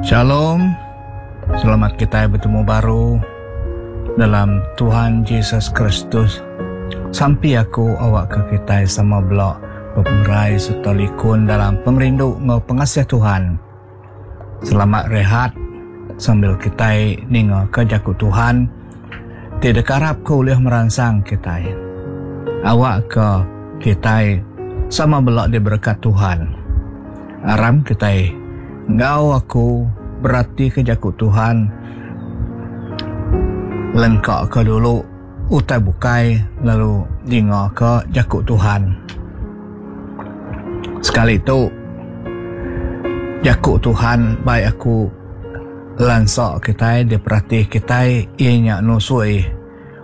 Shalom. Selamat kitai betemu baru dalam Tuhan Jesus Kristus. Sampi aku awakka kitai sama bela bepengerai sereta likun dalam pengerindu enggau pengasih Tuhan. Selamat rehat sambil kitai ningaka jaku Tuhan ti dikarapka ulih meransang kitai. Awakka kitai sama bela diberekat Tuhan. Aram kitai enggau aku beratika jaku Tuhan lengkaka dulu utai bukai lalu ningaka jaku Tuhan. Sekali tu jaku Tuhan bai aku lansa kitai diperati kitai iya nya nusui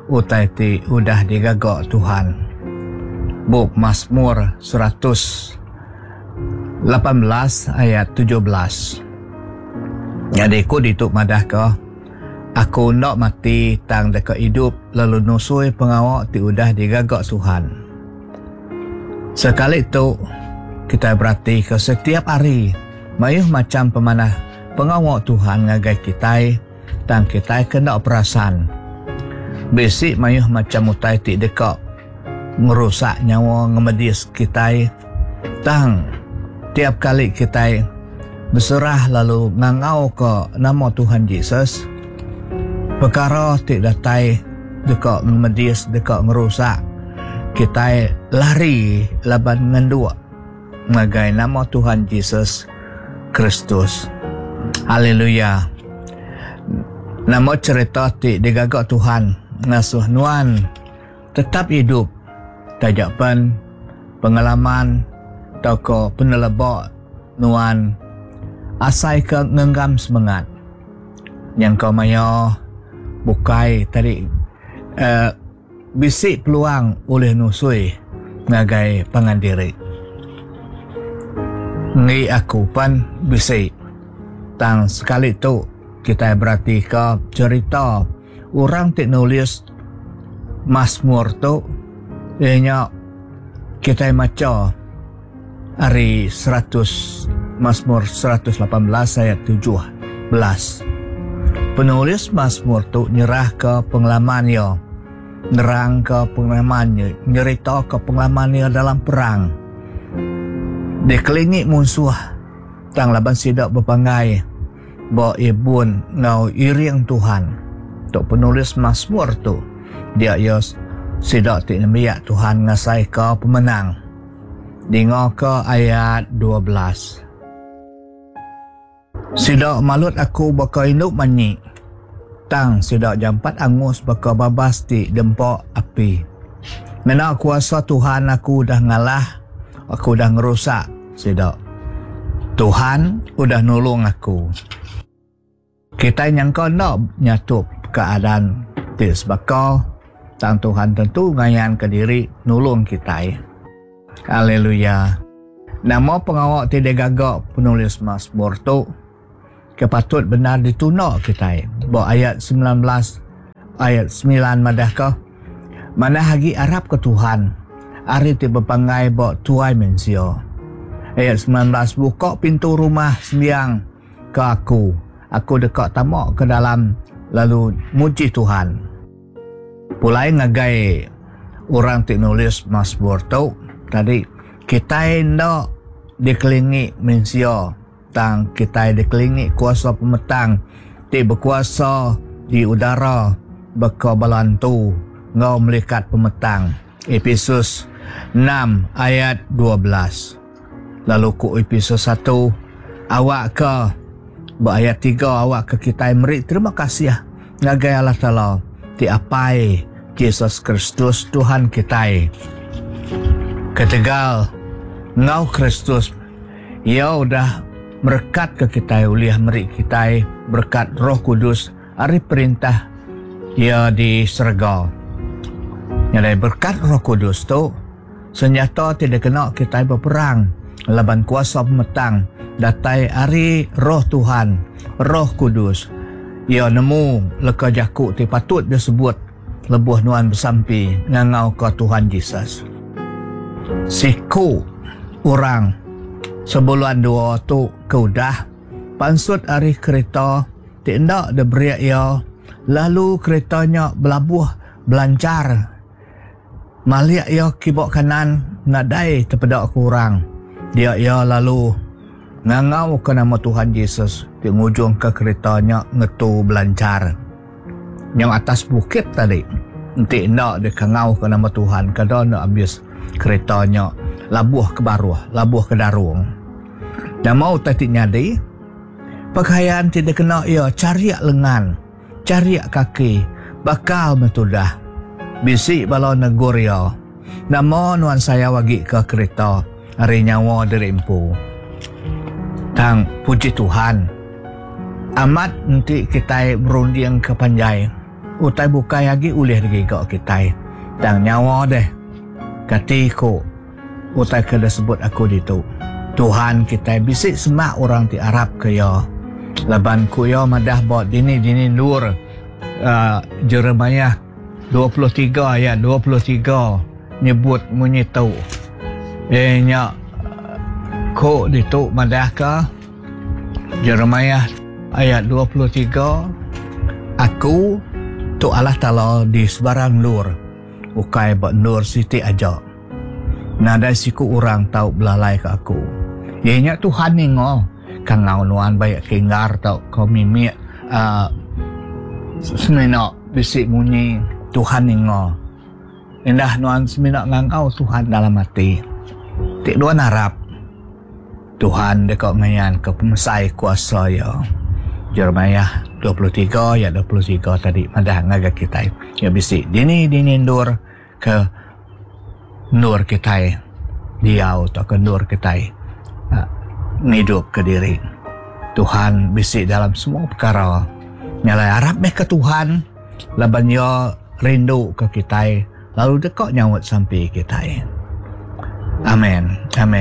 utai ti udah digaga Tuhan. Bup Masmur 118 ayat 17. Nyadi ku ditu madahka Aku enda mati tang deka idup lalu nusui pengawa ti udah digaga Tuhan. Sekali tu, kitai beratika setiap hari mayuh macham pemanah pengawa Tuhan ngagai kitai tang kitai ke enda perasan. Bisi mayuh macham utai ti deka ngerusak nyawa ngemedis kitai tang tiap kali kitai beserah lalu ngangauka nama Tuhan Jesus, pekara ti datai deka ngemedis deka ngerusak kitai lari laban ngenduk ngagai nama Tuhan Jesus Kristus. Haleluya. Nama cherita ti digaga Tuhan ngasuh nuan tetap idup taja pen pengalaman tauka peneleba nuan asai ke ngenggam semengat. Nyangka maya bukai tadi uh, bisi peluang ulih nusui ngagai pangan diri. Enggi aku pan bisi. Tang sekali tu kitai beratika cherita orang ti nulis Masmur tu iya nya kitai macha ari 100 Masmur 118 ayat 17. Penulis Masmur tu nyerahka pengalaman iya, nerangka pengalaman iya, nyeritaka pengalaman iya dalam perang. Dikelingi munsuh tang laban sida bepanggai ba ibun enggau iring Tuhan. Tu penulis Masmur tu dia iya sida ti nembiak Tuhan ngasaika pemenang. Dingaka ayat 12. Sida malut aku baka indu manyi, tang sida jampat angus baka babas ti dempa api. Ngena kuasa Tuhan aku udah ngalah, aku udah ngerusak sida. Tuhan udah nulung aku. Kitai nyangka enda nyatup keadaan ti sebaka, tang Tuhan tentu ngayanka diri nulung kitai. Haleluya. Nama pengawa ti digaga penulis Masmur tu ke patut bendar ditunda kitai? Ba ayat 19 ayat 9 madahka, Manah agi arapka Tuhan ari ti bepanggai ba tuai mensia. Ayat 19 Buka pintu rumah sembiang ke aku, aku deka tama ke dalam lalu muji Tuhan. Pulai ngagai orang ti nulis Masmur tu tadi, kitai enda dikelingi mensia tang kitai dikelingi kuasa pemetang ti bekuasa di udara baka bala antu enggau melikat pemetang. Epesus 6 ayat 12. Lalu ku Epesus 1, awakka ba ayat 3 awakka kitai meri terima kasih ngagai Allah Taala ti Apai Jesus Kristus Tuhan kitai. Ketegal enggau Kristus Iya udah merekatka kitai ulih meri kitai berekat Roh Kudus ari perintah Iya di serega. Nyadi berekat Roh Kudus tu Senyata ti dikena kitai beperang laban kuasa pemetang datai ari Roh Tuhan, Roh Kudus. Iya nemu leka jaku ti patut disebut lebuh nuan besampi ngangauka Tuhan Jesus. Siku orang sebulan dua tu ke udah. pansut ari kerita ti enda diberi iya lalu kerita nya belabuh belanchar. Malik iya kiba kanan nadai tepeda ke orang. Dia iya lalu ngangauka nama Tuhan Jesus ti ngujungka kerita nya ngetu belanchar. Nyau atas bukit tadi enti enda dikangauka nama Tuhan kada enda abis kerita nya labuh ke baruh labuh ke darung. Nama utai ti nyadi? Pekayan ti dikena iya charik lengan, charik kaki bakal meh tudah. Bisi bala negur iya, Nama nuan sayau agi ke kerita ari nyawa diri empu? Tang puji Tuhan, amat enti kitai berunding ke panjai, utai bukai agi ulih digiga kitai. Tang nyawa deh, kati ku utai ke disebut aku ditu. Tuhan kitai bisi semak orang ti arap ke iya. Laban ku iya madah ba dini-dini endur uhh Jeremiah 23 ayat 23 nyebut munyi tu. Iya nya ku ditu madahka Jeremiah ayat 23, Aku tu Allah Taala di sebarang endur, ukai ba endur siti aja. Nadai siku orang tau belalaika aku. Iya nya Tuhan ninga kangau nuan baik ke inggar tauka mimik uhh semina bisi munyi Tuhan ninga. Indah nuan semina ngangau Tuhan dalam ati. Ti nuan arap, Tuhan deka ngayanka pemesai kuasa Iya. Jeremiah 23 ayat 23 tadi madah ngagai kitai, Iya bisi dini-dini endur ke endur kitai diau tauka endur kitai ngidupka diri. Tuhan bisi dalam semua pekara. Nya alai arap meh ke Tuhan laban Iya rindu ke kitai lalu deka nyaut sampi kitai. Amen. Amen.